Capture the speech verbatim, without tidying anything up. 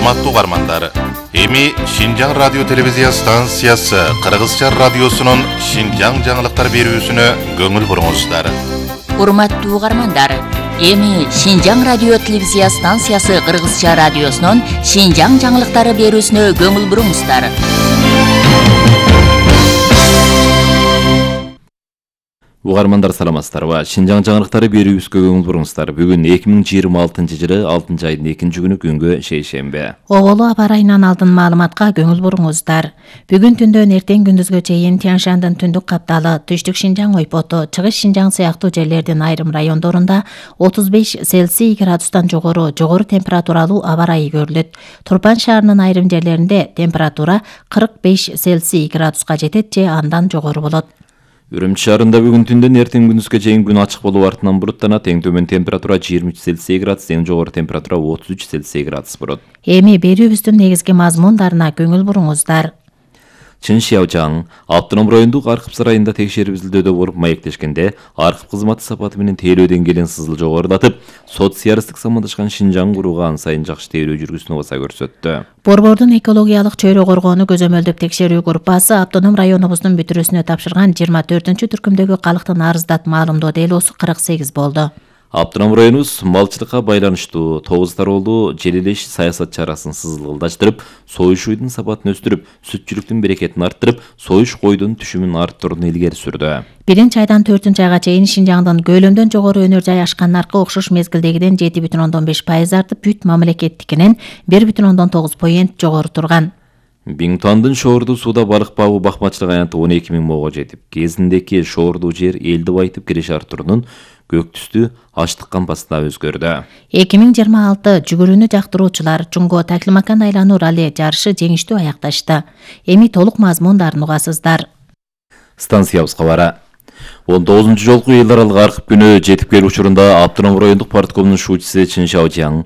Урматтуу угармандар, эми Шинжаң радио телевизия станциясы Кыргызча радиосунун Шинжаң жаңылыктар берүүсүнө көңүл буруңуздар. Урматтуу угармандар, эми Шинжаң радио телевизия станциясы Кыргызча радиосунун Шинжаң жаңылыктары берүүсүнө көңүл буруңуздар. Угармандар саламатсыздарбы? Шинжаң жаңылыктары берүүбүзгө көңүл буруңуздар. Бүгүн эки миң жыйырма алтынчы жылы алтынчы айдын экинчи күнү күнгө шейшембе. Оголу аба ырайынан алдын маалыматка көңүл буруңуздар. Бүгүн түндөн эртең күндүзгө чейин Тянь-Шандын түндүк капталы, түштүк Шинжаң ойпоту, чыгыш Шинжаң сыяктуу жерлердин айрым райондорунда отуз беш Цельсий градустан жогору, жогору температуралуу аба ырайы көрүлөт. Турпан шаарынын айрым жерлеринде температура кырк беш Цельсий градуска жетет же андан жогору болот. Үрүмчү шаарында бүгүн түндөн эртең күндүзгө чейин күн ачык болуп артынан булуттанат. Эң төмөн температура жыйырма үч Цельсий градус, эң жогору температура отуз үч Цельсий градус болот. Эми берүүбүздүн негизги мазмундарына көңүл буруңуздар. Чыншыяожаң автоном райондук Аркып сарайында текшерип изилдөөдө болуп маектешкенде Аркып кызматы сапаты менен тейлөө деңгээлин сызыл жогорулатып, социалисттик самандашкан Шинжаң курууга ан сайын жакшы тейлөө жүргүзүүнү баса көрсөттү. Борбордун экологиялык чөйрө коргоону көзөмөлдөп текшерүү группасы автоном районубуздун бүтүрүүсүнө тапшырган жыйырма төртүнчү түркүмдөгү калктын арыздат маалымдоо делосу кырк сегиз болду. Автоном районубуз малчылыкка байланыштуу тогуз тароолуу желелеш саясат чарасын сызылдаштырып, союш уйдун сапатын өстүрүп, сүтчүлүктүн берекетин арттырып, союш койдун түшүмүн арттырууну илгери сүрдү. Биринчи айдан төртүнчү айга чейин Шинжаңдын көлөмдөн жогору өнөр жай ашкан наркы окшош мезгилдегиден жети бүтүн ондон беш пайыз артып, бүт мамлекеттикинен бир бүтүн ондон тогуз поент жогору турган. Биңтуандын шоорду сууда балык багуу бакмачылык аянты он эки миң моого жетип, кезиндеки шоордуу жер элди байытып киреш артуурунун көк түстүү аштык кампасына өзгөрдү. эки миң жыйырма алты жүгүрүүнү жактыруучулар Жунго Таклимакан айлануу ралли жарышы жеңиштүү аякташты. Эми толук мазмундарын угасыздар. Станциябыз кабары. он тогузунчу жолку эл аралык Аркып күнү жетип келүү учурунда автоном райондук парткомдун шуучусу Чыншыяожаң